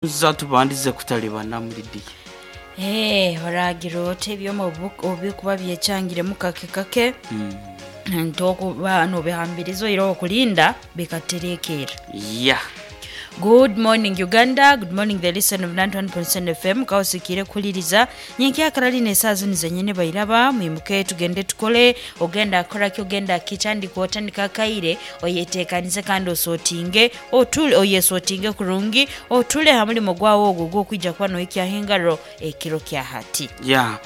Tubandize kutalibana muri diya. Oragira oti ebyoma obikuba byekyangiremu kake kake, ntokuba nobihambiriza oihireho okulinda bikaterekeera. Ya. Good morning Uganda, good morning the listen of 91.7 FM kawusikiire kuhuliriza nyenkyakara lino esaawa zinu zenyini bairaba mwimuke tugende tukole ogenda kukoraki ogenda kitandika otandika akaire oyetekanize kandi osootinge otule oyesotinge kurungi otule ha mulimo gwawe ogwo ogwokwija kuba nohikyaho engaro ekiro kya hati. Ya.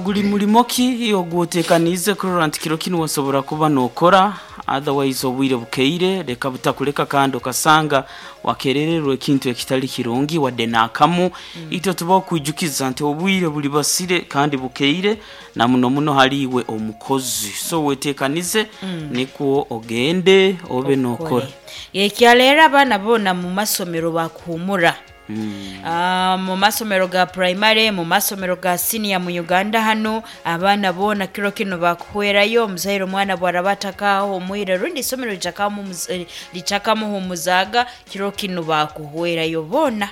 Guli mulimo ki ogwotekaniize kurora nti kiro kinu wasobora kuba nokora, otherwise obwire bukeire leka butakuleka kandi okasanga wakerererwa ekintu ekitali kirungi wadde n'akamu. Itwe tubaho kwijukiza nti obwire buli basire kandi bukeire na muno muno hali iwe omukozi, so wetekanize nikwo ogende obe nokora. Ekyaleero abaana boona mu masomero bakuhumura. Mu masomero ga puraimare, mu masomero ga siniya mu Uganda hanu, abaana boona kiro kinu bakuhwerayo. Omuzaire omwana bwaraba atakahumwire rundi isomero litakamuhumuzaaga, kiro kinu bakuhwerayo boona.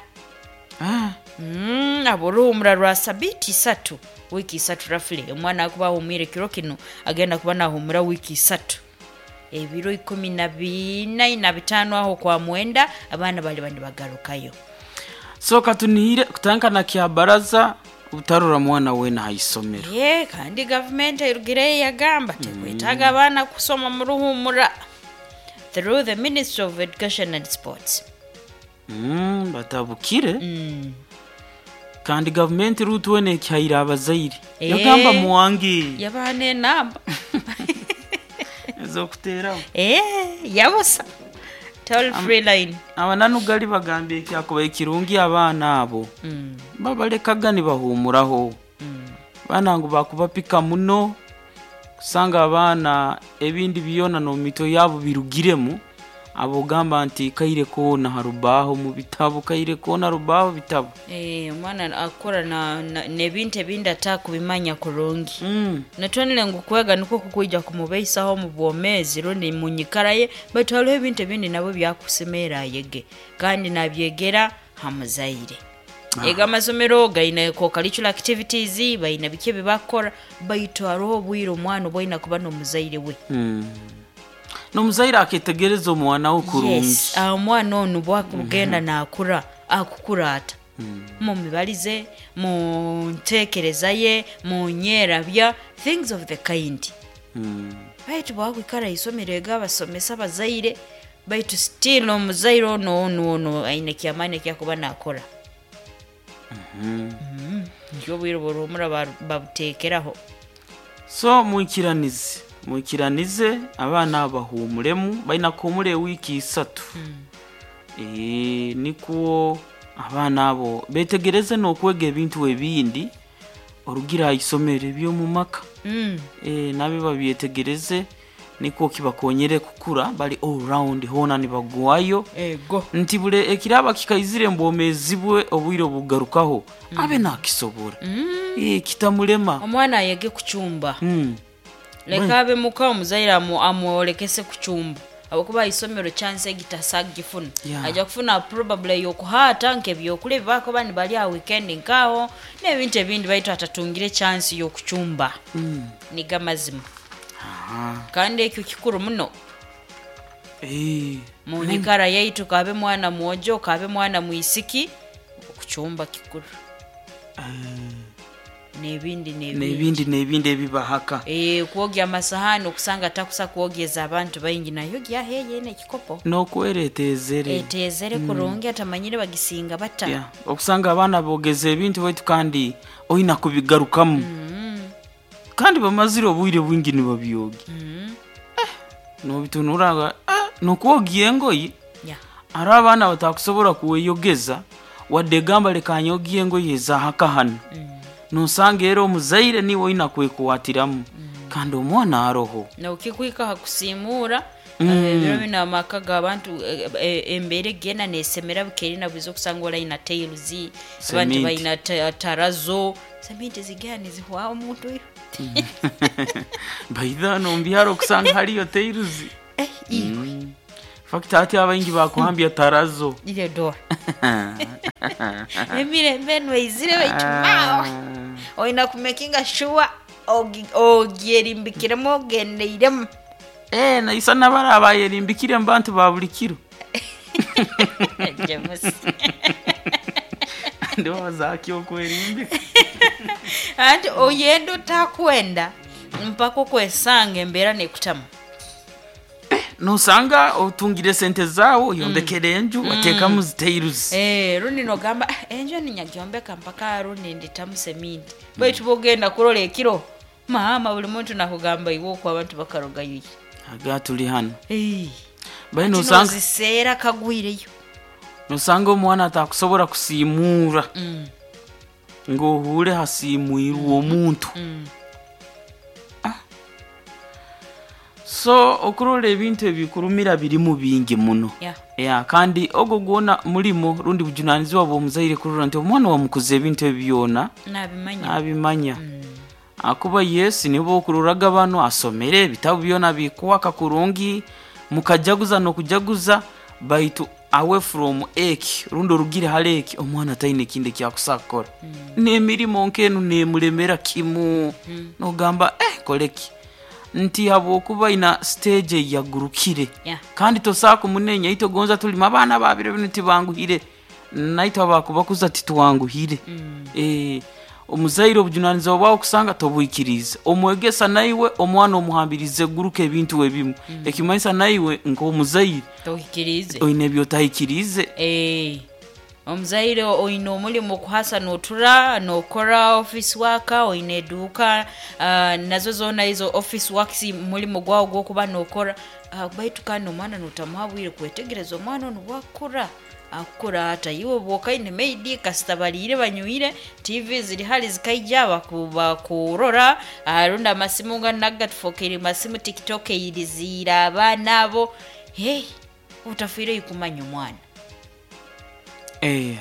Abo oruhumura rwa sabiiti isatu, wiiki isatu roughly. Omwana akuba ahumwire kiro kinu agenda kuba nahumura wiiki isatu. Ebiro ikumi na biina na bitaano aho kwa mwenda abaana baliba nibagarukayo. So katunihire kutandika na kyabaraza obutarora mwana weena ha isomero. Ye kandi gavumenti erugireyo yagamba tekwetaaga abaana kusoma mu ruhumura through the Ministry of Education and Sports. Batabukire. Kandi gavumenti ruutu weena ekihaire abazaire. Yagamba muwange. Yabaha n'enamba ez'okuteraho. Yabusa toll free line. Abananu gali bagambye ekyakubaire kirungi abaana abo babalekaga nibahumuraho. Abaana ngu bakubapika muno kusanga abaana ebindi byona n'omumitwe yaabo birugiremu, abo ogamba nti kaire koona ha rubaho mu bitabu, kaire koona rubaho bitabu. Omwana akukura n'ebintu ebindi atakubimanya kurungi. Natwonire ngu kwega nikwo kukwija kumubeisaho omu bwomeezi rundi mu nyikara ye, baitu hariho ebintu ebindi nabwo byakusemerra ayege kandi nabyegera ha muzaire. Ego amasomero gaine co-curricular activities, baine biki ebi bakukora, baitu hariho obwire omwana obu aine kuba n'omuzaire we. N'omuzaire aketegereza omwana we kurungi. Yes, omwana onu bwakugenda nakura akukura ata? Mu mibarize, mu ntekereza ye, mu nyerabya, things of the kind. Baitu bwakwikara haisomero ego abasomesa abazaire, baitu still omuzaire onu onu onu aine kyamaani ekyakuba nakora. Nikyo obwire bw'oruhumura babuteekeraho. So mwikiranize, mwikiranize abaana abo bahumuremu, baina kuhumura ewiiki isatu. Nikwo abaana abo betegereze n'okwega ebintu ebindi orugire ha isomero eby'omu maka. Nabyo babyetegereze nikwo kibakonyere kukura bari all round hoona nibagwayo. Ego. Nti buri ekiraba kikaizire omu bwomeezi bwe obwire obugarukaho abe nakisobora. Kitamulema. Omwana ayege kucumba. Leka abe muka omuzaire amwolekese kucumba habwokuba ha isomero chance egi tasobola kugifuna. Aija kufuna probably ey'okuhaata nk'ebyokulya ebi bakuba nibalya ha weekend nk'aho n'ebintu ebindi baitu atatungire chance y'okucumba. Nigo amazima. Kandi ekyo kikuru muno. Mu nyikara yaitu kaabe mwana mwojo, kaabe mwana mwisiki, okucumba kikuru. N'ebindi n'ebindi. N'ebindi n'ebindi ebibahaka. Kwogya amasahani okusanga atakusa kwogyeza abantu baingi nayogya yeena ekikopo. N'okwera eteezere. Eteezere kurungi atamanyire bagisinga bata. Yeah. Okusanga abaana boogeza ebintu baitu kandi oina kubigarukamu. Kandi bamazire obwire bwingi nibabyogya. Nobitunura n'okwogya engoye, hariho abaana batakusobora kweyogeza wadde gamba leka nyogye engoye ez'ahaka hanu. Nosanga era omuzaire niiwe oina kwekwatiramu kandi omwana aroho. Nokikuhika ha kusiimuura, ebiro binu amaka g'abantu embeera egenda neesemera bukeire na bwiza okusanga oli aina tiles, abandi Cement. baina tarazo, seminti zigenda nizihwaho omuntu iwe. Baitha hanu omu byaro okusanga hariyo tiles. Iwe. Fact hati abaingi bakuhambya tarazo. Ile doa emirembe enu eizire, baitu mawe oina kumakinga sure ogyerimbikiremu ogendeiremu. Eh, naisa nabara abayerimbikire mu bantu ba buli kiro. James. Ndowooza ki okwerimbika? Anti oyenda otakwenda mpaka okwesanga embeera nekutamu. Nosanga otungire sente zaawe, oyombekere enju, wateekamu zitairuzi. Eh, rundi nogamba, "Ah, enju enu nyagyombeka mpaka rundi nditamu seminti," baitu bwogenda kurola ekiro maama buli muntu nakugamba iwe okwo abantu bakarogayo. Aga tuli hano. Eh, baye ati nosanga noziseera kagwireyo. Nosanga omwana atakusobora kusiimuura ng'ohuure hasiimwirwe omuntu. So okurora ebintu ebikurumira birimu bingi muno. Yeah, kandi ogwo gwona mulimo rundi bujunanizibwa bw'omuzaire kurora nti omwana wamukuza ebintu ebi byona nabimanya. Nabimanya. Akuba yes, nibo okuroraga bano asomere ebitabu byona bikwaka kurungi, mukajaguza n'okujaguza, baitu away from eki rundi orugire hali eki, omwana taine ekindi ekyakusa kukora. N'emirimo nk'enu nemulemera kimu. Nogamba, eh, koleki nti habwokuba ina stage eyagurukire. Kandi tosaa kumunenya, itwe gonza tulima abaana babiro binu tibanguhire, naitwe abakubakuza titwanguhire. Omuzaire obujunanizibwa bwawe kusanga tobwikirize omwegesa, naiwe omwana omuhambirize guruka ebintu ebimu, ekimanyisa naiwe nk'omuzaire tohikirize. Oine ebyotahikirize. Eh, omuzaire oine omulimu okuhasa notura nokora office work, oine eduuka, nazo zoona izo office works mulimu gwawe gwokuba nokora, baitu kandi omwana notamuha bwire kwetegereza omwana onu bwakura akukura ata. Iwe bwokaine maidi kasita baliire banywire, TV ziri hali zikaija bakurora, rundi amasimu nga nagatufokere masimu, TikTok eyiriziire abaana abo. Hey, otafiireyo kumanya omwana. Eh,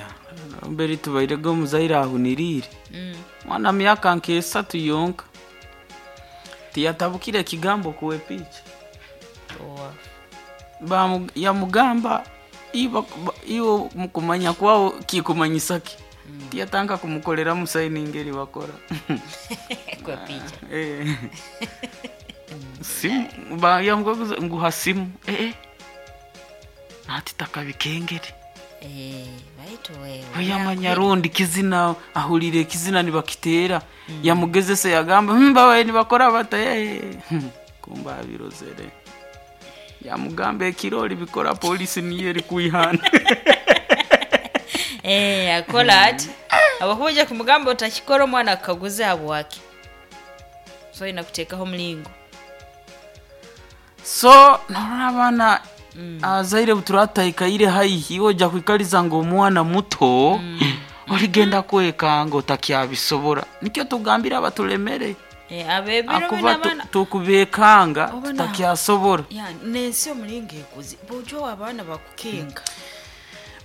mbere tubairega omuzaire ahuniriire mwana myaka nk'esatu yonka tiyatabukire ekigambo kuwepiiki. Yamugamba, iwe mukumanya kwawo kikumanyisa ki? Tiyatanka kumukoreramu saini ngeri bakora. Kwepicha. Eh. Simu yamukaguza nguha simu, eh, nati takabikengere. Eh, baitu wewe Oyamanya rundi kizina ahulire ekizina nibakiteera, yamugezese yagamba, babaye nibakora bata?" Eh, kumba abirozere, yamugamba ekirori bikora polisi niyo eri kwihana. Eh, akola ati abakuja kumugamba utakikora, omwana akaguze habwaki, so ina kuteekaho omulingo. So norora abaana abazaire buturatahikaire haihi, ojja kwikaliza ngu omwana muto oligenda kwekanga otakyabisobora, nikyo tugambire abatulemere. Eh, abebiro bino akuba abaana tukubekanga tutakyasobora. Ya, nensi omulingo ekuzi bujo abaana bakukenga.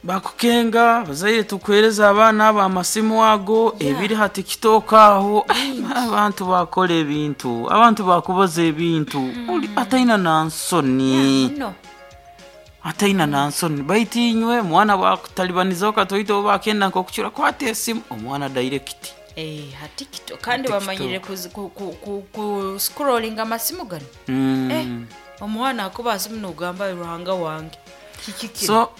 Bakukenga, abazaire tukuhereza abaana abo amasimu ago ebiri ha TikTok aho, abantu bakora ebintu, abantu bakubaza ebintu. Uli ataina nansoni. No. Ataina nansoni, baitu inywe mwana bakutalibanizaho katoito oba akenda nk'okucura, kwata esimu omwana direct. Eh, ha TikTok kandi TikTok. bamanyire ku scrolling amasimu gano. Eh, omwana akuba asimu nogamba, "Ruhanga wange, kiki kino?" So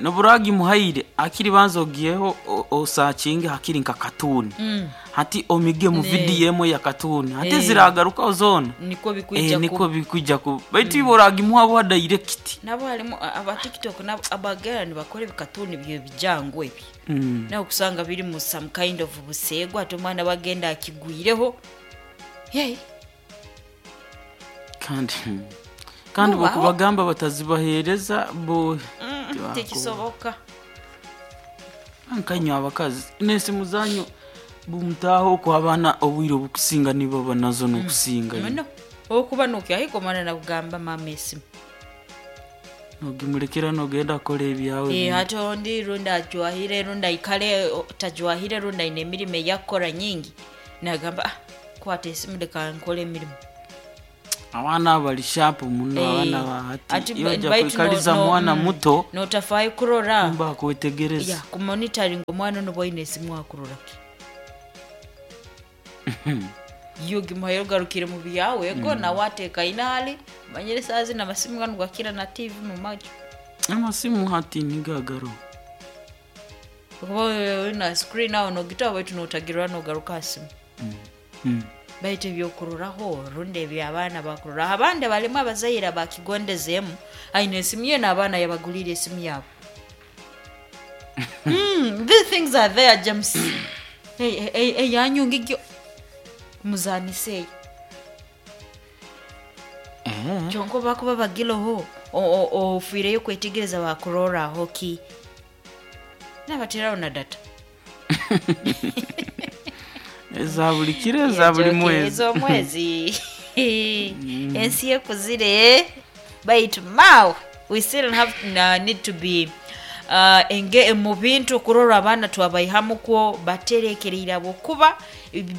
noburagi muhaire akiri banza ogiyeho osakinge hakiri nka katuni. Hati omige mu video emwe ya katuni, hati ziragarukaho zona. Niko bikwija. Niko bikwija ku, baitu ibo oragimuha bwa direct. Nabo harimu aba TikTok nabo abagera nibakora ebikatuni byo bijangu ebi. Nawe kusanga biri mu some kind of buseegwa, ate omwana bagenda akigwireho. Hey. Kandi Mubaho. bokubagamba batazibahereza bo Tekisoboka. Nkanywa abakazi n'esimu zanyu bumutaho okwo, abaana obwire obukusinga nibo nazo n'okusinga. Muno okuba nokyahika omwana nakugamba, "Mama, esimu." Nogimulekera nogenda kukora ebyawe. Eh, hati ondi rundi ajwahire, rundi aikale tajwahire, rundi aine emirimo eyakukora nyingi, nagamba, "Ah, kwata esimu leka nkole emirimu." Abaana bali sharp muno. Eh, Abaana bahati ati iyo baitu kuikaliza mwana muto notafaayo kurora mba kwetegereza. Ya kumonitoring omwana ono bwaine esimu akurora ki, iyo gimuhaire ogarukire mu byawe ego nawe atekaine hali manyire saa zino amasimu ganu gakira na TV mu maju. Amasimu hati nigagaro. Kuba na screen aho nogita baitu notagirwa nogaruka ha simu. Baitu ebyokuroraho rundi ebyabaana bakuroraho, abandi balimu abazaire bakigondezeemu, aine esimu ye n'abaana yabaguliire esimu yaabo. These things are there, James. Eyanyunga egyo muzaniseeyo. Eh. Kyonka bakuba bagiroho ofiireyo kwetegereza bakuroraho ki, nabateraho na data. Eza buli kiro, eza buli mwezi. Ez'omwezi. Ensi ekuzire, baitu mawe we still have need to be enge mu bintu kurora abaana twabaihamukwo baterekereire habwokuba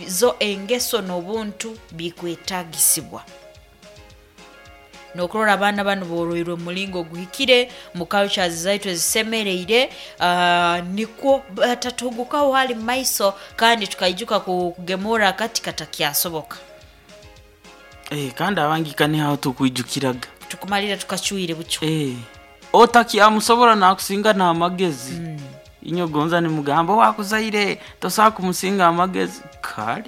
zo engeso n'obuntu bikwetagisibwa nokurora abaana banu boroirwe omulingo oguhikire mu cultures zaitu ezisemereire, nikwo batatugukaho hali maiso kandi tukaijuka kugemura akati katakyasoboka. Eh, kandi abangi nihaho tukwijukiraga. Tukumalira tukacwire bucwa. Eh, otakyamusobora nakusinga n'amagezi. Inyo gonza nimugamba wakuzaire tosobola kumusinga amagezi, kale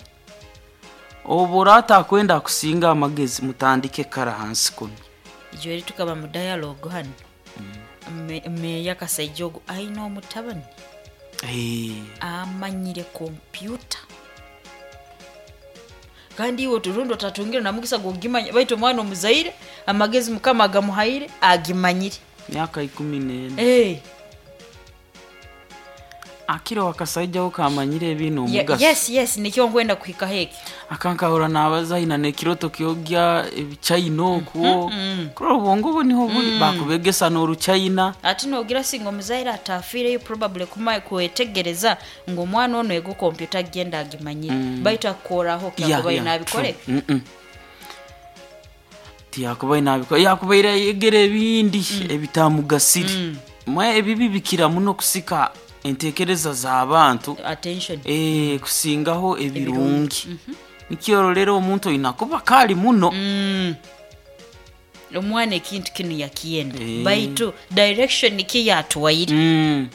obu orata akwenda kusinga amagezi mutandike kara hansi kuno. Ijo eri tukaba mu dialogue hano. Meya Kasaija ogu aine omutabani Eh, amanyire kompyuta, kandi iwe turundi otatungire namugisa gwogimanya, baitu omwana omuzaire amagezi Mukama agamuhaire agimanyire. Myaka 14. Hey. Akiro wakasaijaho kamanyire ebintu omugaso. Yes, nikyo nkwenda kuhikaho eki. Akankahura nabaza aina nekiroto kyogya ebichina okwo, kurora obwongo bwe niho buli bakubegesa n'oruchina. Ati nogira singa omuzaire atafiireyo probably kuma kwetegereza ngu omwana ono ego kompyuta agenda agimanyire, baitu akukoraho kyakubaire nabikore. True. Tiyakubaire nabikora, yakubaire ayegera ebindi ebitamugasire. Mwe ebibi bikira muno kusika entekereza z'abantu. Attention. Eh, kusingaho ebirungi. Nikyorolera omuntu oina kuba kali muno. Omwana ekintu kinu yakiyenda, Eh. baitu direction ki yatuwaire?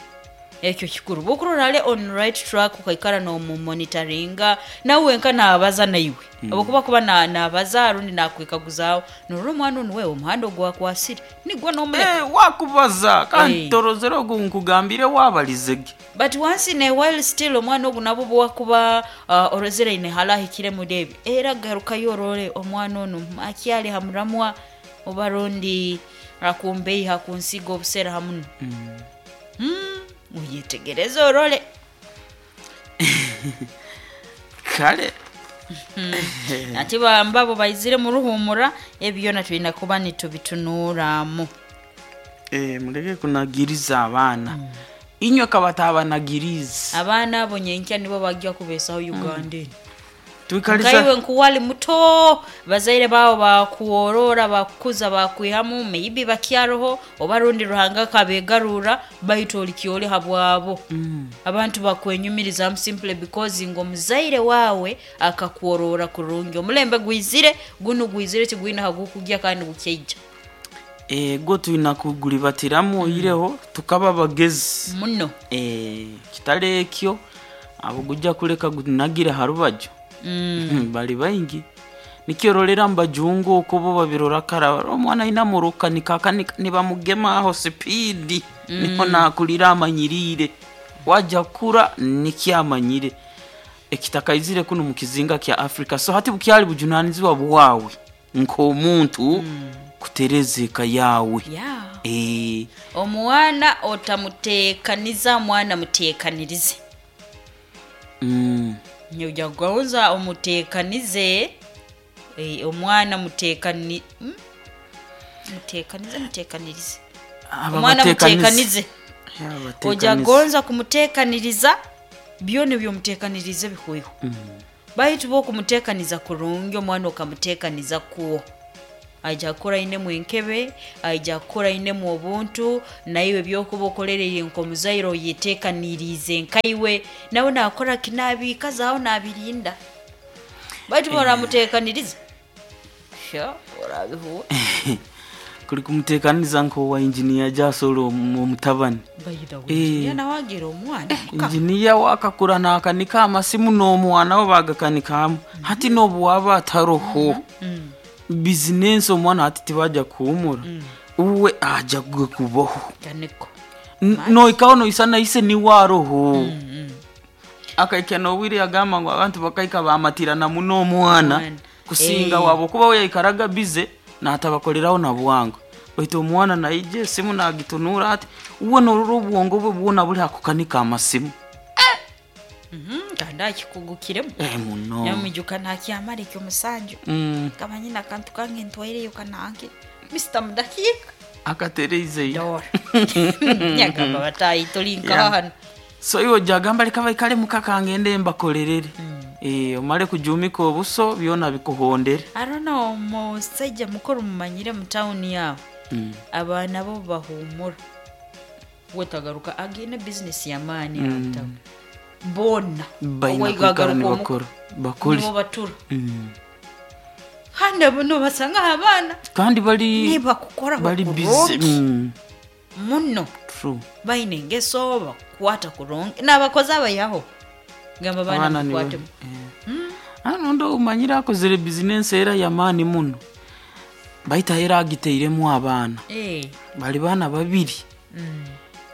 Ekyo kikuru bwokurora ale on right track, ukaikara nomumonitoringa nawe wenka nabaza naiwe, obukuba kuba nabaza rundi nakwikaguzaawo norora omwana onu wewe omuhanda ogwakwasire nigwo nomuleka. Eh, wakubaza kandi Eh. torozere ogu nkugambire wabalizege. But once in a while still omwana ogu nabo bwakuba orozere ine halahikire muri ebi, era garukayo orore omwana onu akyali hamuramwa oba rundi akumbeiha kunsiga obusera hamuno. Uyetegereze orole. Kale. Ati bambabo baizire muruhumura ebyona tulina kuba nitubitunuramu. Eh, muleke kunagiriza abaana. Inywe kabatabanagiriza. Abaana abo nyenkya nibo bajja kubeesaho Uganda eno. Tuikaliza Nkaiwe nkuwali muto bazaire baabo bakuworora bakukuza bakwihamu, maybe bakyaroho oba rundi Ruhanga kabegarura, baitu olikyoli habwabo. Abantu bakwenyumirizamu simply because ngo omuzaire wawe akakuworora kurungi. Omulembe gwizire gunu gwizire tigwina hagukugya kandi gukyaija. Ego tulina kugulibatiramu oyireho tukaba bagezi. Muno. Eh, kitali ekyo abo gujja kuleka gunagire ha rubaju. Bali baingi nikyorolera mbajungu okwo bo babirora kara omwana aina muruka nikakanika nibamugema aho sipidi niho nakulira amanyirire wajja kura nikyamanyire ekitakaizire kuno mu kizinga kya Afrika. So hati bukyali bujunanizibwa bwawe nk'omuntu kutereza eka yawe. Yeah. Eh, Omwana otamuteekaniza, mwana muteekanirize. Nyoja kugonza omuteekanize, omwana muteekani, Muteekanize, muteekanirize. Aba Omwana bateekanize. muteekanize. Yeah, bateekanize. Ojagonza kumuteekaniriza byona ebyomuteekanirize bihweho, baitu bwokumuteekaniza kurungi omwana okamuteekaniza kuwo. Aija kukora ainemu enkebe, aija kukora ainemu obuntu, naiwe ebyokuba okolereriire nk'omuzaire oyeteekaniriize nkaiwe, nawe naakora ki naabiikazaaho naabirinda. Baitu obu oramuteekaniriza, sha oraabihuura. Kuli kumuteekaniza nk'owa engineer Jasolo omutabani. By the way, engineer nawe agira omwana muka. Engineer wakakura naakanika amasimu n'omwana we baagakanika hamwe. Hati n'obu waaba ataroho, bizinensi omwana hati tibajya kuhuumura, uwe aja kubaho. Ganiko. Noikaho noisana ise niwe aroho. Akaikya n'obwire yagamba ngu abantu bakaika bamatirana muno omwana Omwana. kusinga Eh. wabo kuba we yaikaraga bize naatabakoleraho na bwangu, baitu omwana naija esimu nagitunura ati uwe norora obwongo bwe bwona buli hakukanika amasimu. Kandi akikugukiremu. Eh, muno. Nyamujuka nakyamara ekyomusanju. Nkaba nyine akantu kange ntwaireyo kanange. Mr. Mudakiika. Akatereizeyo. Dora. Nyagamba batayi tuli nkaha Yeah. hano. So iwe ojagamba leka baikale muka kangende mbakolerere. Eh, omale kujumika obuso byona bikuhondere. I don't know, omusajja mukuru mumanyire mu tawuni yaabo. Abaana bo bahuumura. Wetagaruka agine bizinesi y'amaani mm. mu tawuni. Boona. Baina Owaiga kwikara agaruka omuka, nibakora bakore. nibo batura. Kandi abo nobasanga abaana Kandi bali nibakukora bali busy. kurungi muno. True. Baine engeso bakukwata kurungi n'abakozi abayaho gamba baana Abaana nibo. mukwate. Hano ndo umanyire akozere bizinensi era y'amaani muno, baita era agiteiremu abaana. Eh, Bali baana babiri.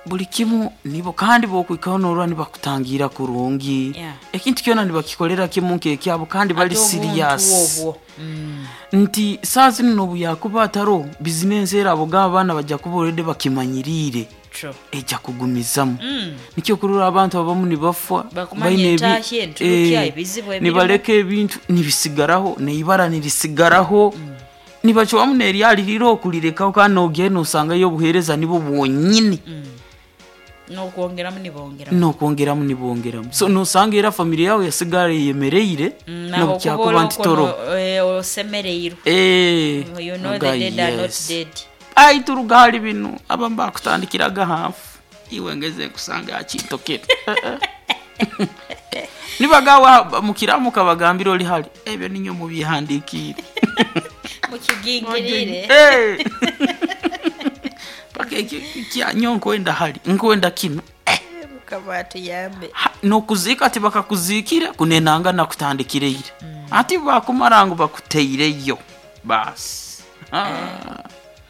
Buli kimu nibo, kandi bokwikaho norora nibakutangira kurungi. Yeah. Ekintu kyona nibakikolera kimu nkekyabo kandi bali Ate obuntu serious. obwo. Nti saa zinu nobu yakuba ataro bizinensi era abo g'abaana bajja kuba already bakimanyiriire. True. Ejja kugumizamu. Nikyo kurora abantu abamu nibafa Bakumanya baine entahya, enturukya, ebizibu ebirimu. nibaleka ebintu nibisigaraho neibara nirisigaraho. Nibacwamu neryalirira okulirekaho kandi nogenda nosangayo obuheereza nibwo bwonyini. N'okwongeramu nibongeramu. Nokwongeramu nibongeramu, so nosanga era family yawe yasigara eyemereire Naho nobukyakuba nti kuba toro. osemereirwe. Eh, You know oga the dead are not yes. dead. Ai turuga hali bino abamu bakutandikiraga hafu iwe ngeze nkusanga akintokera nibagawa mukiramu kabagambira oli hali ebyo ninyo mubihandikiire. Mukigingirire. Eh. Paka ekyo kyanyo nkwenda hali nkwenda kino. Mukama atuyambe. Nokuziika tibakakuziikire kunenanga nakutandikireire. Ati bakumara ngu bakuteireyo basi. Ah.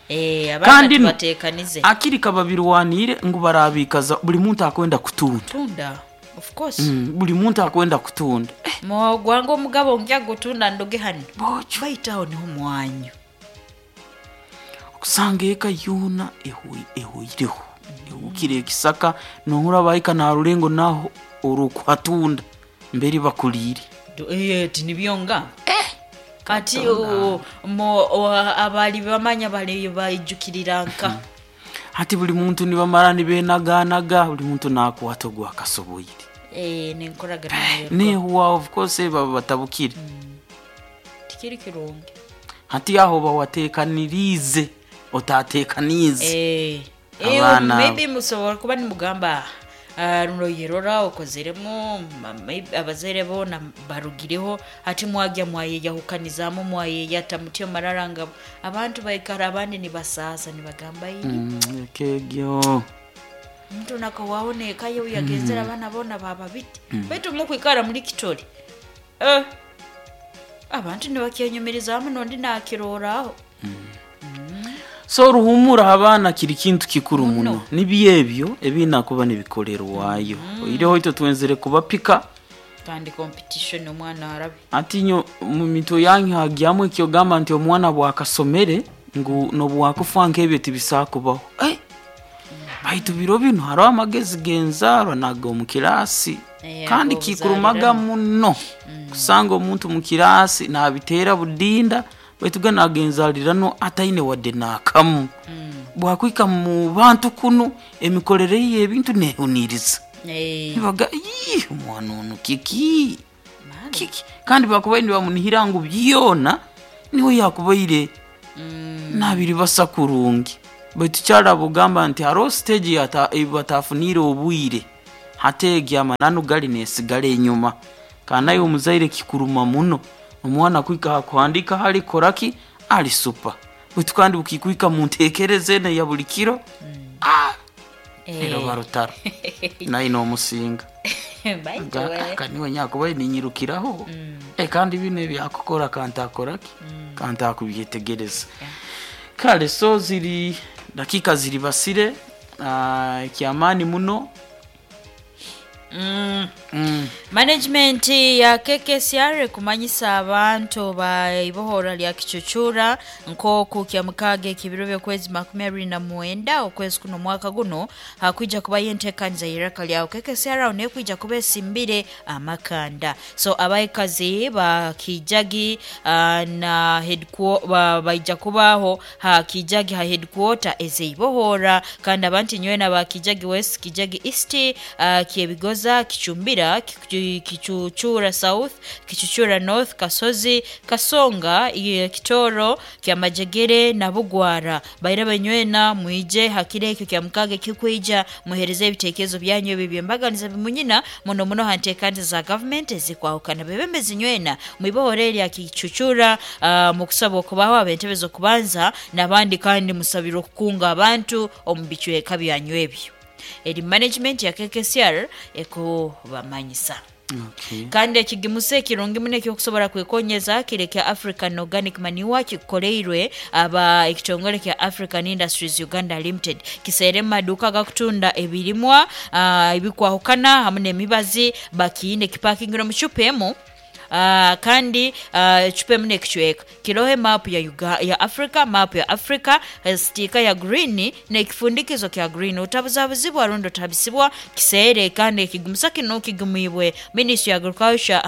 Eh, abaana Kandi no tubateekanize. akiri kababirwaniire ngu barabikaza buli muntu akwenda kutunda. Tunda. Of course. Buli muntu akwenda kutunda. Gwange omugabo nkya gutunda ndoge hano. Bokyo. Baitu aho niho mwanyu. Okusanga eka yoona ehoireho. Ehukire ekisaka nohura bahika narurengo naho orukuhatunda mberi bakuliire. Eh, tinibyo nga. Kati abali bamanya bali baijukirira nka. Hati buli muntu nibamara nibenaganaga buli muntu nakwata ogwo akasoboire. Eh, nenkoragana nayo. Nehuwa of course baba batabukire. Tikiri kirungi. Hati aho bawateekaniriize otateekaniize. Eh, eh, Abaana maybe musobola kuba nimugamba runo yerora okozeremu maybe abazaire boona barugireho ati mwagya mwayeyahukanizaamu mwayeyata mutyo marara nga abantu baikara abandi nibasaasa nibagamba ii Ekegyo. Omuntu nakawaho neeka ye yagenzere abaana boona baba biti baitu mukwikara muri kitole, eh, abantu nibakyenyumirizaamu nondi nakiroraho. So oruhumura abaana kiri kintu kikuru muno, nibyo ebyo ebiina kuba nibikorerwayo. Oireho itwe twenzere kubapika. Kandi competition omwana arabe. Ati nyo mu mitwe yanyu hagyamu ekyogamba nti omwana bwakasomere ngu nobwakufa nk'ebyo tibisakubaho. Eh, baitu biro bino hariho amagezi g'enzaarwa naga omu kirasi. Eh, kandi ago kikurumaga obuzaariramu. Muno kusanga omuntu mu kirasi nabiteera budinda baitu ga nagenzaalirano ataine wadde naakamu. Bwakwika mu bantu kunu emikorere ye ebintu nehuniiriza. Eh, nibaga ii omwana ono kiki maana. kiki, kandi bakubaire nibamunihira ngu byona niwe yakubaire. Nabiribasa kurungi, baitu kyaraba ogamba nti haroho stage batafuniire obwire, hati egi amananu gali nesigara enyuma. Kandi naye omuzaire kikuruma muno omwana kuhika hakuhandika hali koraki ali supa, baitu kandi bukikuhika muntekereza eno eya buli kiro, eroba rutaro naye nomusinga. Baitu we. Kaniwe nyakubaire ninyirukiraho. Kandi bino ebyakukora kantakoraki kantakubyetegereza. Kale so ziri dakika ziri basire, ekyamaani muno. Management ya KKCR ekumanyisa abantu ba ibohora lya Kichuchura nkoku kya mukaaga ekibiro by'okwezi 29 okwezi kuno mwaka guno hakwija kubayo enteekaniza y'iraka lyawe. KKCR aho nekwija kuba esimbire amakanda. So abaikazi ba Kijagi na baija kubaho ha Kijagi ha headquarter ezeibohora, kandi abantu nywena ba Kijagi West, Kijagi East, Kyebigoza, Kichumbira, Kichuchura South, Kichuchura North, Kasozi, Kasonga, Kitoro, Kyamajegere na Bugwara. Baira banywena mwije hakire ekyo kya mukaga kikwija muhereze ebitekerezo byanyu ebi byembaganiza bimunyina muno muno hanteekaniza za government ezikwahukana. Bebembezi nywena mwibohore erya Kichuchura, mukusaba okubaho ab'entebe z'okubanza n'abandi, kandi musabirwe okukunga abantu omu bicweka byanyu ebyo. Eri management ya KKCR ekubamanyisa. Kandi ekigimusa ekirungi muno ekyokusobora kwekonyeza kiri kya African Organic Manure kikoleirwe aba ekitongole kya African Industries Uganda Limited. Kiseere mu maduuka agakutunda ebirimwa, ebikwahukana hamu n'emibazi, bakiine kipakingire omu cupa emu. Kandi ecupa emu n'ekicweka kiroho emaapu ya ya Africa, maapu ya Africa, sitiika ya green n'ekifundikizo kya green. Otabuzabuzibwa rundi otabisibwa kiseere. Kandi ekigumusa kinu kigumibwe Ministry ya Agriculture,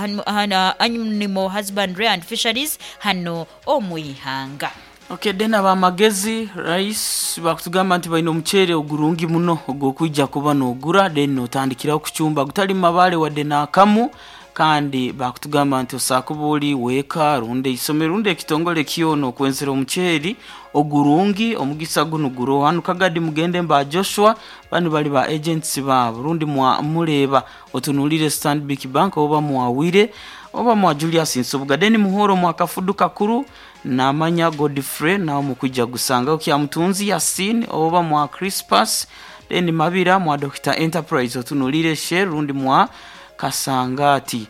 Animal Husbandry and Fisheries hano omu ihanga. Okay, then abamagezi rice bakutugamba nti balina omuceere ogurungi muno ogw'okwija kuba n'ogura, then notandikiraho kucumba gutali mabale wadde n'akamu. Kandi bakutugamba nti osakuba ori weeka rundi eisomero rundi ekitongole kyona okwenzera omuceeri ogurungi, omugisa gunu guroho hanu Kagadi. Mugende mba Joshua banu bali ba agents baabo, rundi mureeba otunulire Stanbic Bank oba mwawire oba mwa Julius Nsubuga. Then muhoro mwa Kafudu Kakuru namanya Godfrey nawe mukwija gusangaho Kyamutunzi Yasin oba mwa Crispus. Then Mabira mwa Dr Enterprise otunulire Shell rundi mwa Kasangati.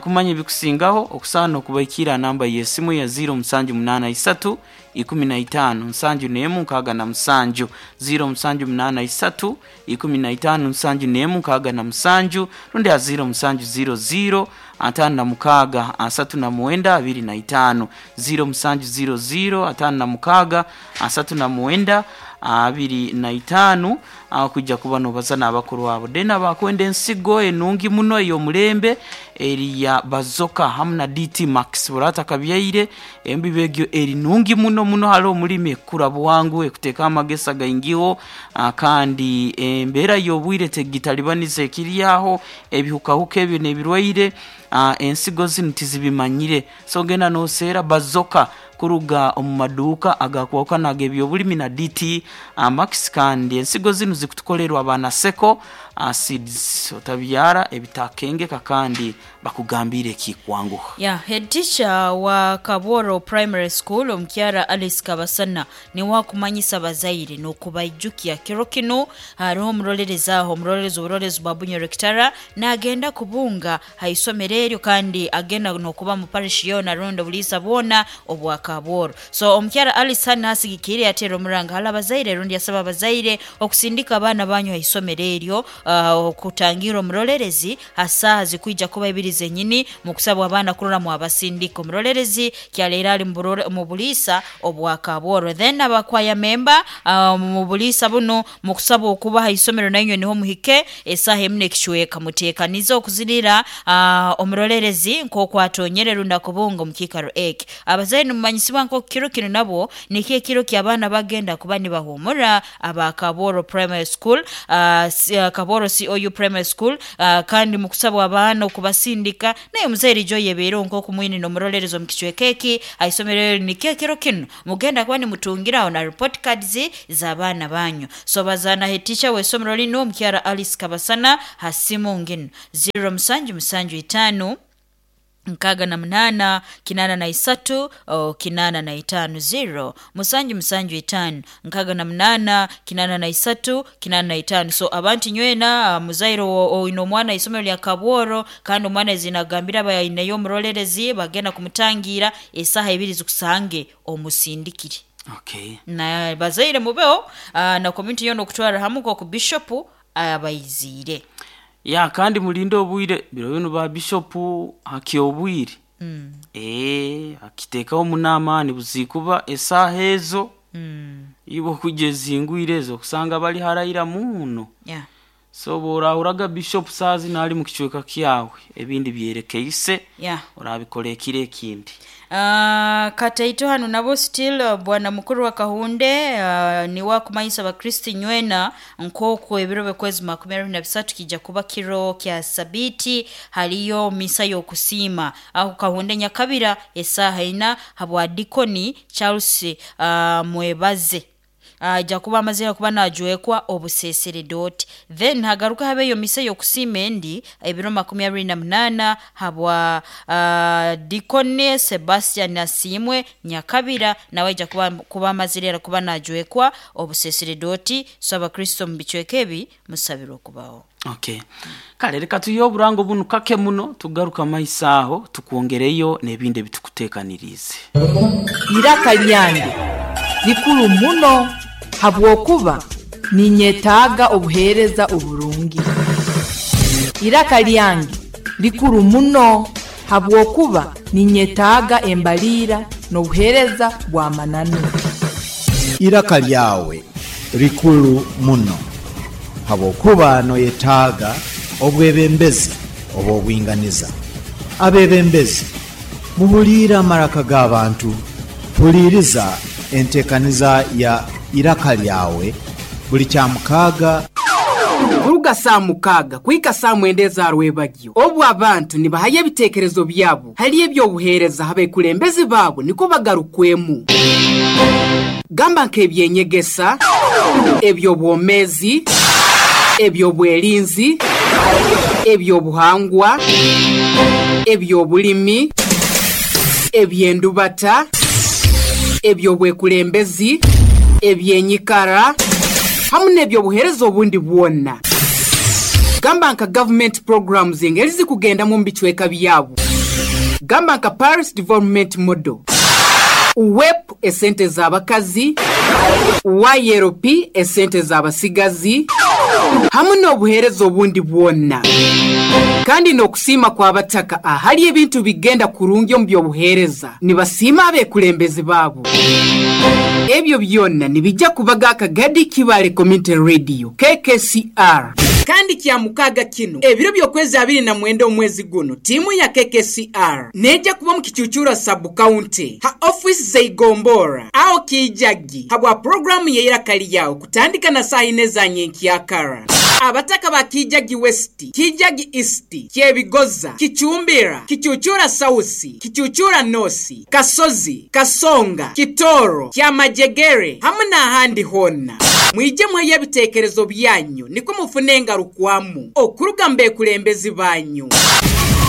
Kumanya ebikusingaho okusaana okubaikira namba y'esimu ya 0783 15 71 67, 0783 15 71 67, rundi ya 0700 56 39 25, 0700 56 39 25, kujja kuba nobaza n'abakuru abo. Then abakwenda ensigo enungi muno ey'omulembe eri ya Bazoka hamu na DT Max burata kabyaire embibo egyo eri nungi muno muno hali omulimi, ekura bwangu, ekuteeka amagesa gaingiho, kandi embeera y'obwire tegitalibaniza ekiri aho ebihukahuka ebyo n'ebirwaire, ensigo zinu tizibimanyire. So genda noseera Bazoka kuruga omu maduuka agakwahukana ag'ebyobulimi na DT Max. Kandi ensigo zinu zikutukolerwa abanaseko seeds, otabyara ebitakengeka kandi bakugambire ekikwanguha. Ya head teacher wa Kabworo Primary School omukyara Alice Kabasana niwe akumanyisa abazaire n'okubaijukya kiro kinu hariho omurolerezi aho, omurolerezi oburorezi bwa Bunyoro Kitara nagenda kubunga ha isomero eryo, kandi agenda n'okuba mu parish yoona rundi obuliisa bwona obwa Kabworo. So omukyara Alice hano asigikire yateera omuranga hali abazaire rundi yasaba abazaire okusindika abaana banyu ha isomero eryo, okutangira omurolerezi ha saaha zikwija kuba ibiri zenyini, mukusabwa abaana kurora mwabasindika. Omurolerezi kyaleero ali mu buliisa obwa Kabworo. Then abakwaya memba mu buliisa buno mukusabwa okuba ha isomero nainywe niho muhike esaaha emu n'ekicweka, muteekanize okuzirira omurolerezi nk'oku atonyere rundi akubunga omu kiikaro eki. Abazaire nimumanyisibwa nk'oku kiro kinu nabwo nikyo ekiro ky'abaana bagenda kuba nibahumura aba Kabworo Primary School, Kabworo. Kabworo COU Primary School. Kandi mukusabwa abaana okubasindika naye omuzaire ijo yebeereho nk'oku mwine n'omurolerezi omu kicweka eki ha isomero eri, nikyo ekiro kinu mugenda kuba nimutungiraho na report cards z'abaana banyu. So bazaana head teacher w'isomero linu omukyara Alice Kabasana ha simu nginu 0 musanju musanju itaano 68 83 85, 0 musanju musanju itaano 68 83 85. So abantu nywena, muzaire oine omwana isomero lya Kabworo kandi omwana zinagambira abayineyo omurolerezi bagenda kumutangira esaha 2 zikusange omusindikire. Na bazaire mubeho, na community yoona okutwara hamu nk'oku bishopu abayiziire. Ya, kandi mulinde obwire biro binu ba bishopu hakyobwire akiteekaho muno amaani buzikuba esaaha ezo iwe okujja ezingwire ezo okusanga bali haraira muno. So bworahuraga bishopu saaha zinu ali mukicweka kyawe, ebindi byerekeise, orabikora ekiro ekindi. Kataito hanu nabo still bwana mukuru wa Kahunde niwe akumanyisa abakristo nywena nk'oku ebiro by'okwezi 23 kijja kuba kiro kya sabiti, haliyo misa y'okusiima aho Kahunde Nyakabira esaaha 4 habwa Dikoni Charles Mwebaze. Ajja kuba amazire kuba najwekwa obuseseredoti, then hagaruka habeyo misa y'okusiima endi ebiro 28 habwa Dikoni Sebastian Asiimwe Nyakabira, nawe aija kuba amazire era kuba najwekwa obuseseredoti. So abakristo omu bicweka ebi musabirwe okubaho. Okay, kale reka tuyihe oburango bunu kake muno, tugaruka maiso aho tukwongereyo n'ebindi ebitukuteekaniriize. Iraka lyange likuru muno habwokuba ninyetaaga obuheereza oburungi. Iraka lyange likuru muno habwokuba ninyetaaga embaliira n'obuheereza bw'amananu. Iraka lyawe likuru muno habwokuba noyetaaga obwebembezi obw'obwinganiza. Abebembezi, muhuliire amaraka g'abantu, huliiriza enteekaniza ya Iraka lyawe buli Kyamukaaga. Kuruga saa 6 kuhika saa 9 eza rwebagyo, obu abantu nibahayo ebiteekerezo byabo hali eby'obuheereza abekulembezi baabo niko bagarukwemu. Gamba nk'ebyenyegesa, eby'obwomeezi, eby'obwerinzi, eby'obuhangwa, eby'obulimi, eby'endubata, eby'obwekulembezi, ebyenyikara, hamu n'ebyobuheereza obundi bwona. Gamba nka government programs engeri zikugendamu omu bicweka byabo. Gamba nka Paris Development Model, UWEP esente z'abakazi, YLP esente z'abasigazi, hamu n'obuheereza obundi bwona. Kandi n'okusiima kw'abataka ahali ebintu bigenda kurungi omu by'obuheereza, nibasiima abekulembezi baabo. Ebyo byonna nibijja kubaga akagadi Kibale Community Radio KKCR. Kandi kya mukaaga kino ebiro by'okwezi 29 omwezi guno, tiimu ya KKCR nejja kuba mu Kicucura sub county ha office zeigombora aho Kijagi habwa programu y'eiraka lyawe kutandika na saa 4 za nyenkyakara. Abataka ba Kijagi West, Kijagi East, Kyebigoza, Kicumbira, Kicucura South, Kicucura North, Kasozi, Kasonga, Kitoro, Kyamajegere hamu n'ahandi hona. Mwije mweyo ebiteekerezo byanyu niko mufune engarukwamu okuruga mbekulembezi banyu.